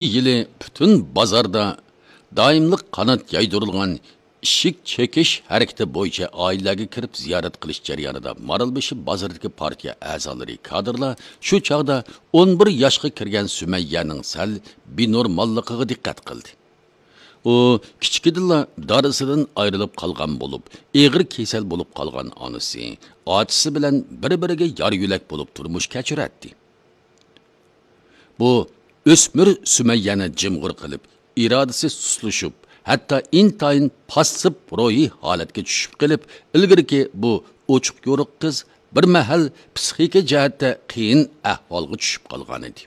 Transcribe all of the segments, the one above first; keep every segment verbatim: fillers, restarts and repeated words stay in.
يىلى پۈتۈن بازاردا دائىملىق قانات يايدۇرۇلغان ئىشىك چېكىش ھەرىكىتى بويىچە ئائىلىلەرگە كىرىپ زىيارەت قىلىش جەريانىدا مارالبېشى بازىرىدىكى پارتىيە ئەزالىرى، كادىرلار شۇ چاغدا ئون بىر ياشقا كىرگەن سۈمەييەنىڭ سەل بىنورماللىقىغا دىققەت قىلدى. ئۇ كىچىكىدىنلا دادىسىدىن ئايرىلىپ قالغان بولۇپ، ئېغىر كېسەل بولۇپ قالغان ئانىسى، ئاچىسى بىلەن بىر-بىرىگە يار-يۆلەك بولۇپ تۇرمۇش كەچۈرەتتى. بۇ ئۆسمۈر سۈمەييەنى جىمغۇر قىلىپ، ئىرادىسى سۇسلىشىپ، ھەتتا ئىنتايىن پاسسىپ روھىي ھالەتكە چۈشۈپ قېلىپ، ئىلگىرىكى بۇ ئوچۇق-يورۇق قىز بىر مەھەل پسىخىكا جەھەتتە قىيىن ئەھۋالغا چۈشۈپ قالغانىدى.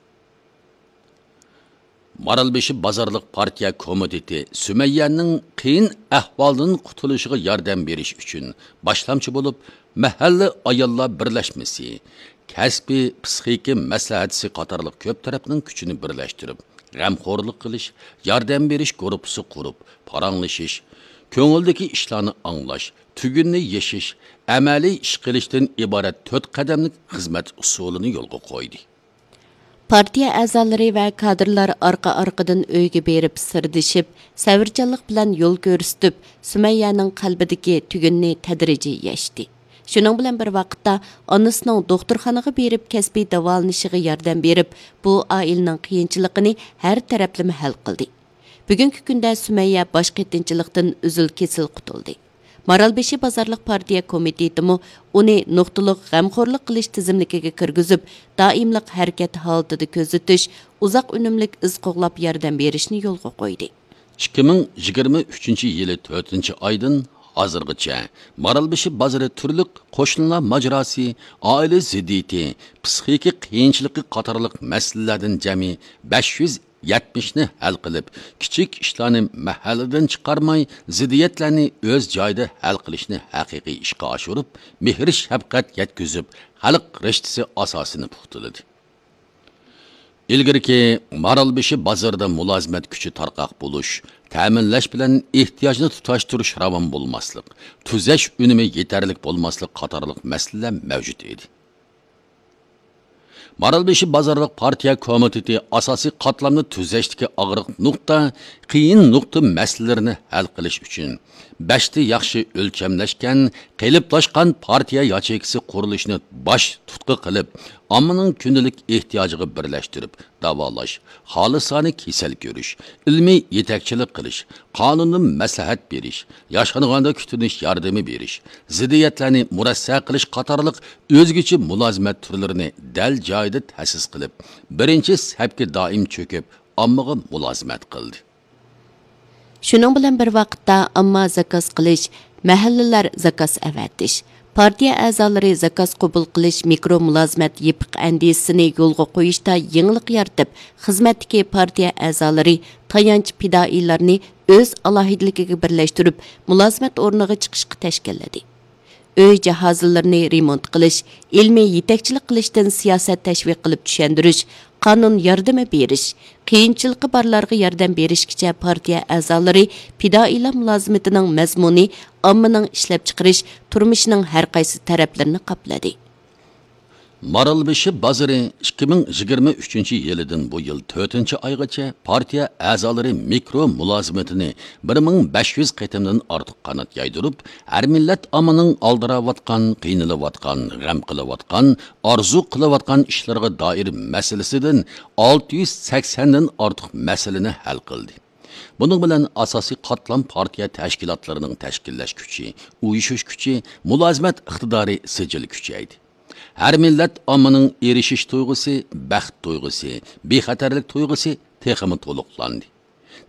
مارالبېشى بازارلىق پارتىيە كومىتېتى سۈمەييەنىڭ قىيىن ئەھۋالدىن قۇتۇلۇشىغا ياردەم بېرىش ئۈچۈن باشلامچى بولۇپ، مەھەللە ئاياللار بىرلەشمىسى، كەسپىي پسىخىكا مەسلىھەتچىسى قاتارلىق كۆپ تەرەپنىڭ كۈچىنى بىرلەشتۈرۈپ، غەمخورلۇق قىلىش، ياردەم بېرىش گۇرۇپپىسى قۇرۇپ، پاراڭلىشىش، كۆڭۈلدىكى ئىشلارنى ئاڭلاش، تۈگۈننى يېشىش، ئەمەلىي ئىش قىلىشتىن ئىبارەت تۆت قەدەملىك خىزمەت ئۇسۇلىنى يولغا قويدى. پارتىيە ئەزالىرى ۋە كادىرلار ئارقا-ئارقىدىن ئۆيگە بېرىپ سىردىشىپ، سەۋرچانلىق بىلەن يول كۆرسىتىپ، سۈمەييەنىڭ قەلبىدىكى تۈگۈننى تەدرىجىي يەشتى. شۇنىڭ بىلەن بىر ۋاقىتتا، ئانىسىنىڭ دوختۇرخانىغا بېرىپ كەسپىي داۋالىنىشىغا ياردەم بېرىپ، بۇ ئائىلىنىڭ قىيىنچىلىقىنى ھەر تەرەپلىمە ھەل قىلدى. بۈگۈنكى كۈندە سۈمەييە باش قېتىنچىلىقتىن ئۈزۈل-كېسىل قۇتۇلدى. مارالبېشى بازارلىق پارتىيە كومىتېتىمۇ ئۇنى نۇقتىلىق غەمخورلۇق قىلىش تىزىملىكىگە كىرگۈزۈپ، دائىملىق ھەرىكەت ھالىتىدە كۆزىتىش، ئۇزاق ئۈنۈملۈك ئىز قوغلاپ ياردەم بېرىشنى يولغا قويدى. ئىككى مىڭ يىگىرمە ئۈچىنچى يىلى تۆتىنچى ئايدىن ھازىرغىچە مارالبېشى بازىرى تۈرلۈك قوشنىلار ماجىراسى، ئائىلە زىددىيىتى، پسىخىكا قىيىنچىلىقى قاتارلىق مەسىلىلەردىن جەمئىي بەش يۈز يەتمىشنى ھەل قىلىپ، كىچىك ئىشلارنى مەھەللىدىن چىقارماي، زىددىيەتلەرنى ئۆز جايىدا ھەل قىلىشنى ھەقىقىي ئىشقا ئاشۇرۇپ، مېھىر-شەپقەت يەتكۈزۈپ، خەلق رىشتىسى ئاساسىنى پۇختىلىدى. ئىلگىرىكى مارالبېشى بازىرىدا مۇلازىمەت كۈچى تارقاق بولۇش، تەمىنلەش بىلەن ئېھتىياجنى تۇتاشتۇرۇش راۋان بولماسلىق، تۈزەش ئۈنۈمى يېتەرلىك بولماسلىق قاتارلىق مەسىلىلەر مەۋجۇت ئىدى. مارالبېشى بازارلىق پارتىيە كومىتېتى ئاساسىي قاتلامنى تۈزەشتىكى ئاغرىق نۇقتا، قىيىن نۇقتا مەسىلىلىرىنى ھەل قىلىش ئۈچۈن، بەشتە ياخشى ئۆلچەملەشكەن، قېلىپلاشقان پارتىيە ياچېيكىسى قۇرۇلۇشىنى باش تۇتقا قىلىپ، ئاممىنىڭ كۈندىلىك ئېھتىياجىغا بىرلەشتۈرۈپ، داۋالاش، خالىسانە كېسەل كۆرۈش، ئىلمىي يېتەكچىلىك قىلىش، قانۇنىي مەسلىھەت بېرىش، ياشانغاندا كۈتۈنۈش ياردىمى بېرىش، زىددىيەتلەرنى مۇرەسسە قىلىش قاتارلىق ئۆزگىچە مۇلازىمەت تۈرلىرىنى دەل جايىدا تەسىس قىلىپ، بىرىنچى سەپكە دائىم چۆكۈپ، ئاممىغا مۇلازىمەت قىلدى. شۇنىڭ بىلەن بىر ۋاقىتتا، ئامما زاكاز قىلىش، مەھەللىلەر زاكاز ئەۋەتىش، پارتىيە ئەزالىرى زاكاز قوبۇل قىلىش مىكرو مۇلازىمەت يېپىق ئەندىزىسىنى يولغا قويۇشتا يېڭىلىق يارىتىپ، خىزمەتتىكى پارتىيە ئەزالىرى تايانچ پىدائىيلارنى ئۆز ئالاھىدىلىكىگە بىرلەشتۈرۈپ، مۇلازىمەت ئورنىغا چىقىشقا تەشكىللىدى. ئۆي جاھازلىرىنى رېمونت قىلىش، ئىلمىي يېتەكچىلىك قىلىشتىن سىياسەت تەشۋىق قىلىپ چۈشەندۈرۈش، قانۇن ياردىمى بېرىش، قىيىنچىلىقى بارلارغا ياردەم بېرىشكىچە پارتىيە ئەزالىرى پىدائىيلار مۇلازىمىتىنىڭ مەزمۇنى ئاممىنىڭ ئىشلەپچىقىرىش، تۇرمۇشىنىڭ ھەر قايسى تەرەپلىرىنى قاپلىدى. مارالبېشى بازىرى ئىككى مىڭ يىگىرمە ئۈچىنچى يىلىدىن بۇ يىل تۆتىنچى ئايغىچە پارتىيە ئەزالىرى مىكرو مۇلازىمىتىنى بىر مىڭ بەش يۈز قېتىمدىن ئارتۇق قانات يايدۇرۇپ، ھەر مىللەت ئاممىنىڭ ئالدىراۋاتقان، قىينىلىۋاتقان، غەم قىلىۋاتقان، ئارزۇ قىلىۋاتقان ئىشلىرىغا دائىر مەسىلىسىدىن ئالتە يۈز سەكسەندىن ئارتۇق مەسىلىنى ھەل قىلدى. بۇنىڭ بىلەن ئاساسىي قاتلام پارتىيە تەشكىلاتلىرىنىڭ تەشكىللەش كۈچى، ئۇيۇشۇش كۈچى، مۇلازىمەت ئىقتىدارى سىجىل كۈچەيدى. ھەر مىللەت ئاممىنىڭ ئېرىشىش تۇيغۇسى، بەخت تۇيغۇسى، بىخەتەرلىك تۇيغۇسى تېخىمۇ تولۇقلاندى.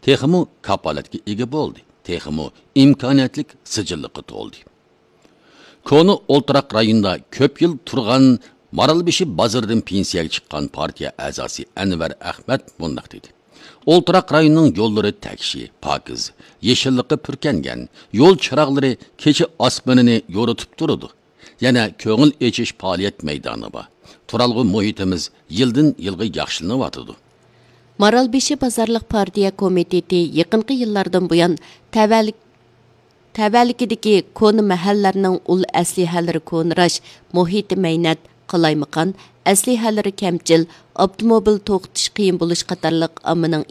تېخىمۇ كاپالەتكە ئىگە بولدى. تېخىمۇ ئىمكانىيەتلىك سىجىللىققا تولدى. كونا ئولتۇراق رايونىدا كۆپ يىل تۇرغان مارالبېشى بازىرىدىن پېنسىيەگە چىققان پارتىيە ئەزاسى ئەنۋەر ئەخمەت مۇنداق دېدى: ئولتۇراق رايونىنىڭ يوللىرى تەكشى، پاكىز، يېشىللىققا پۈركەنگەن، يول چىراغلىرى كېچە ئاسمىنىنى يورۇتۇپ تۇرىدۇ. يەنە كۆڭۈل ئېچىش پائالىيەت مەيدانى بار. تۇرالغۇ مۇھىتىمىز يىلدىن يىلغا ياخشىلىنىۋاتىدۇ. مارالبېشى بازارلىق پارتىيە كومىتېتى يېقىنقى يىللاردىن بۇيان تەۋەلىك-، تەۋەلىكىدىكى كونا مەھەللىلەرنىڭ ئۇل ئەسلىھەلىرى كونىراش، مۇھىتى مەينەت، قالايمىقان، ئەسلىھەلىرى كەمچىل، ئاپتوموبىل توختىتىش قىيىن بولۇش قاتارلىق ئاممىنىڭ